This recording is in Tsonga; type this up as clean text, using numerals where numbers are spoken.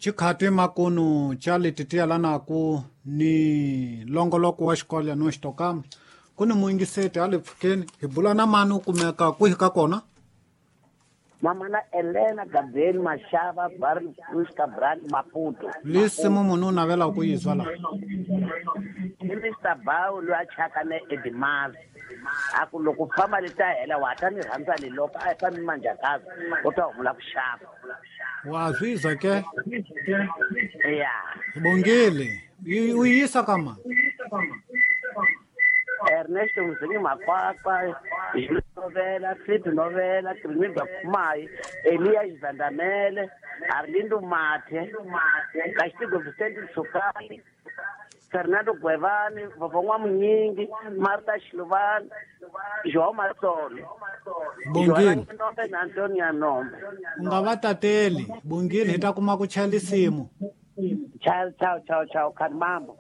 Chikhati makunu cha lititiya lanaku ni longoloko wa xikolo no xitokama ku ni muyingiseti a le pfukeni hi bula na mani u kumeka kwihi ka kona? Mamana Elena Gabriel Mashava Barry Cruz Cabral Maputo. Lisimu munhu u navela ku yi zwa laha. I Mr. Bawu loyi a chaka ne Edimazi. A ku loko famba leti ta hela wa ta ni rhandza ni loko a yi fambi manjakazi u ta humula ku xava. Wa swi zwa ke? Ya. Bongile. U yi yisa ka mani? Ernesto Mzingi Makwakwa, Jules Novela, Philip Novela, Trinidad Kumayi, Elia Xizandamele, Arlindo Mathe, Castigo Vicente Sukani, Fernando Gwevani, Vovon'wa Munyingi, Martha Xiluvani, João Matsolo, Bongile. Nombe na Antonia Nombe. U nga va tateli. Bongile hi ta kuma ku chaya lisimu. Ciao, ciao, ciao, ciao, Khanimambo.